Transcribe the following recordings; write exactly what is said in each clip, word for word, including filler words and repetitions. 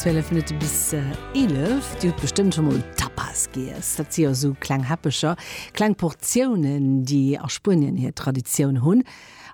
Zwielef Minutte bis eelef. Dir hutt bestëmmt scho mol Tapas giess. Dat si jo sou kleng Häppecher, kleng Portiounen, déi a Spuenien hir Traditioun hunn.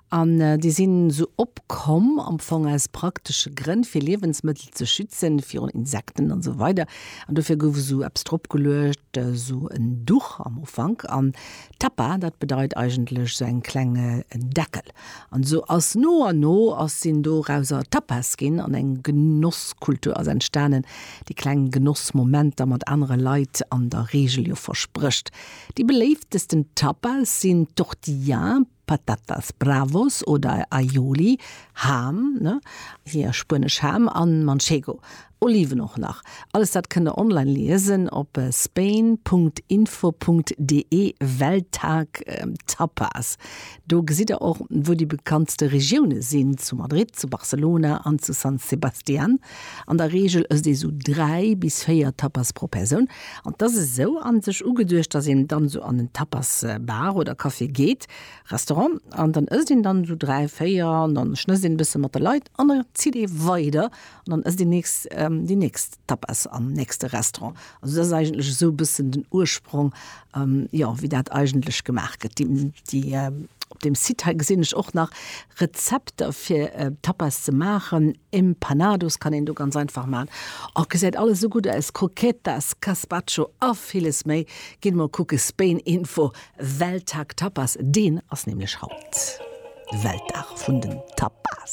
An déi sinn sou opkomm am Fong aus praktesche Grënn, fir Liewensmëttel ze schützen virun Insekten an esou weider. An dofir gouf esou eppes drop geluecht, esou en Duch am Ufank. An Tapa, dat bedeit eigentlech esou eng kleng Deckel. An esou ass no an no ass sinn dorauser Tapas ginn an eng Genosskultur ass entstanen, déi kleng Genossmomenter mat anere Leit an der Reegel jo versprécht. Déi beléiftesten Tapas sinn Tortilla, Patatas Bravos oder Aioli, Ham, ne, hir spuenesch Ham, an Manchego, Oliven och nach. Alles dat kënnt der online liesen op spain Punkt info Punkt de Welttag Tapas. Do gesitt der och wou déi bekanntste Regioune sinn, zu Madrid, zu Barcelona an zu San Sebastian. An der Reegel ësst ee sou dräi bis véier Tapas pro Persoun. An 't ass esou an sech ugeduecht, dass een dann sou an en Tapas Bar oder Café geet, Restaurant, an dann ësst een dann sou dräi, véier an dann schnësst een e bësse mat de Leit an da zitt ee weider an dann ësst een nächst déi nächst Tapas am nächste Restaurant. Also dat ass eigentlech esou e bëssen den Ursprong, jo, wéi dat eigentlech gemaach gëtt. Déi, déi, op deem Site hei gesinn ech och nach Rezepter fir Tapas ze maachen. Empanados kann een do ganz einfach maachen. Oh, gesäit alles esou gutt aus, Croquetas, Gazpacho a villes méi. Gitt mol kucke Spain Info, Welttag Tapas, deen ass nämlech haut, de Weltdag vun den Tapas.